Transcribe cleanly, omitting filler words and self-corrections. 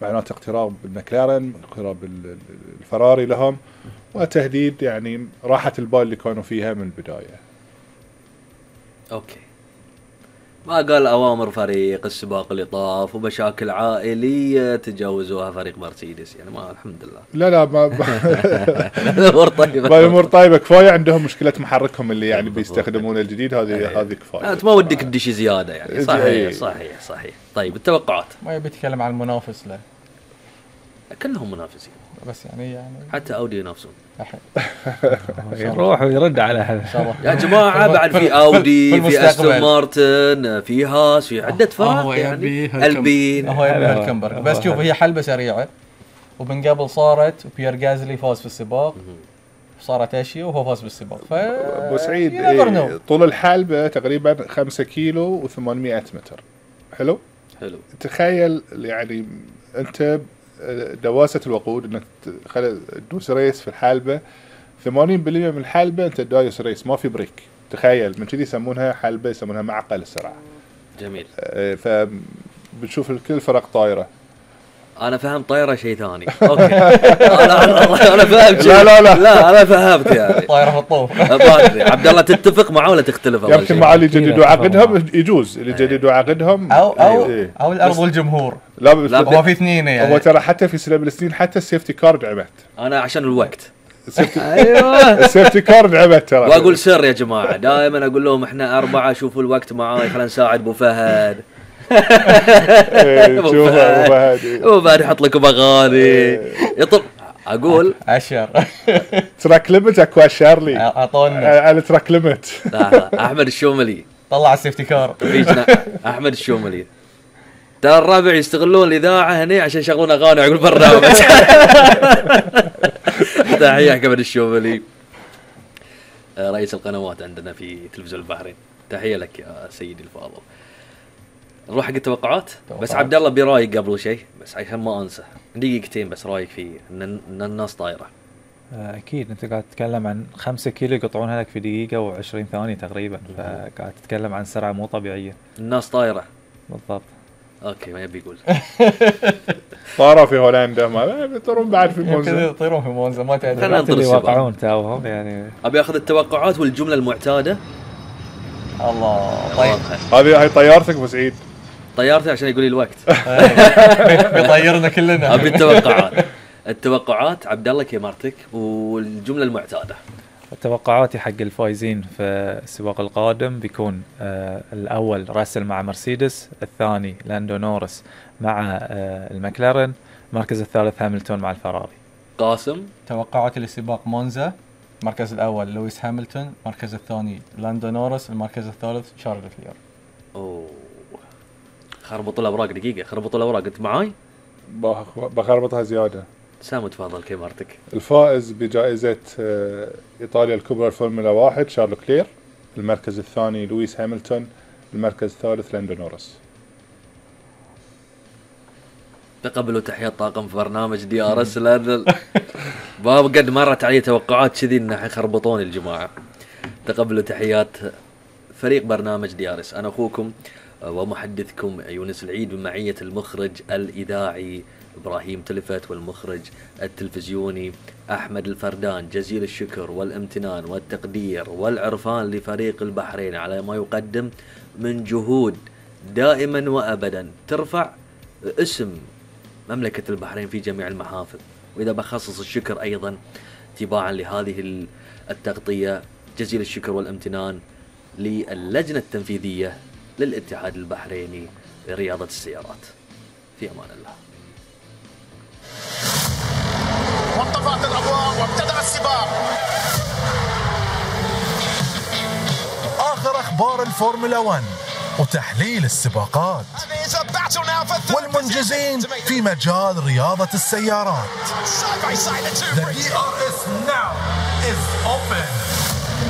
معناته اقتراب المكلارن، اقتراب الفراري لهم، وتهديد يعني راحة البال اللي كانوا فيها من البداية. اوكي، ما قال أوامر فريق السباق اللي طاف ومشاكل عائلية تجاوزوها فريق مرسيدس يعني؟ ما الحمد لله. لا ما الأمور طيبة. الأمور طيبة، كفاية عندهم مشكلة محركهم اللي يعني بيستخدمون الجديد، هذه كفاية. أنت ما ودك تدش زيادة يعني. صحيح. طيب التوقعات. ما يبي يتكلم عن المنافس له، كلهم منافسين بس يعني حتى أودي ينافسون. يروح ويرد على هذا يا جماعة. بعد في أودي، في أستون مارتن، في هاس، في عدة فرق يعني. ألبين هو يبي هالكمبرغ. بس شوف، هي حلبة سريعة، ومن قبل صارت بيير غازلي فاز في السباق، صارت أشياء وهو فاز بالسباق. أبو سعيد طول الحلبة تقريبا 5 كيلو و800 متر. حلو. تخيل يعني أنت دواسة الوقود انك تدوس ريس في الحلبة، 80% من الحلبة انت دايس ريس، ما في بريك. تخيل، من كذي يسمونها حلبة، يسمونها معقل السرعة. جميل. فبتشوف الكل فرق طايرة. انا فهم طايرة شيء ثاني. اوكي. انا فهمت. لا انا فهمت يعني طايرة في الطوف. عبد الله تتفق معه ولا تختلف؟ يمكن مع اللي جددوا عقدهم يجوز، اللي جددوا عقدهم او الارض والجمهور. لا هو في اثنين يعني. هو ترى حتى في سنة من السنين حتى السيفتي كارد عمت. انا عشان الوقت. ايوه السيفتي كارد عمت ترى. واقول سر يا جماعة، دائما اقول لهم احنا 4 شوفوا الوقت معاي، خلينا نساعد ابو فهد. وبعد يحط لكم اغاني يطب. اقول عشر تراك ليمت اكو شارلي اعطونا على تراك ليمت. احمد الشوملي طلع السيفتي كار. احمد الشوملي ترى الربع يستغلون الاذاعه هنا عشان يشغلون اغاني على البرنامج. تحيه احمد الشوملي رئيس القنوات عندنا في تلفزيون البحرين. تحيه لك يا سيدي الفاضل. نروح حق التوقعات. بس عبد الله برايك قبل شيء، بس عشان ما انسى، دقيقتين بس، رايك في ان الناس طايره؟ اكيد انت قاعد تتكلم عن 5 كيلو يقطعونها لك في دقيقه و20 ثانيه تقريبا، فقاعد تتكلم عن سرعه مو طبيعيه. الناس طايره بالضبط. اوكي، ما يبي يقول طاروا في هولندا، ما بيطيرون بعد في مونزا. يطيرون في مونزا ما تدري. خلينا ننطر يوقعون تاوهم يعني. ابي اخذ التوقعات والجمله المعتاده. الله طيب، هذه طيارتك ابو سعيد. طيارتي عشان يقول لي الوقت. بيطيرنا كلنا. ابي التوقعات عبد الله كيمارتك والجمله المعتاده. توقعاتي حق الفايزين في السباق القادم بيكون الأول راسل مع مرسيدس، الثاني لاندو نورس مع المكلارن، المركز الثالث هاملتون مع الفراري. قاسم توقعاتي للسباق مونزا، المركز الأول لويس هاملتون، المركز الثاني لاندو نورس، المركز الثالث شارل لكلير. اوه خربطوا الأوراق. دقيقة، خربطوا الأوراق. أنت معاي؟ بخربطها زيادة. سامو تفضل كيمارتك. الفائز بجائزة إيطاليا الكبرى الفورمولا 1 شارل كلير، المركز الثاني لويس هاملتون، المركز الثالث لاندو نورس. تقبلوا تحيات طاقم في برنامج دي ار اس. باب قد مرت علي توقعات كذي انه حيخربطون الجماعة. تقبلوا تحيات فريق برنامج دي ار اس. انا اخوكم ومحدثكم يونس العيد بمعية المخرج الإذاعي إبراهيم تلفت والمخرج التلفزيوني أحمد الفردان. جزيل الشكر والامتنان والتقدير والعرفان لفريق البحرين على ما يقدم من جهود دائما وأبدا ترفع اسم مملكة البحرين في جميع المحافل. وإذا بخصص الشكر أيضا تباعا لهذه التغطية، جزيل الشكر والامتنان للجنة التنفيذية للاتحاد البحريني لرياضة السيارات. في أمان الله. وانطفأت الأضواء وابتدأ السباق. آخر أخبار الفورمولا 1 وتحليل السباقات والمنجزين في مجال رياضة السيارات. The DRS now is open.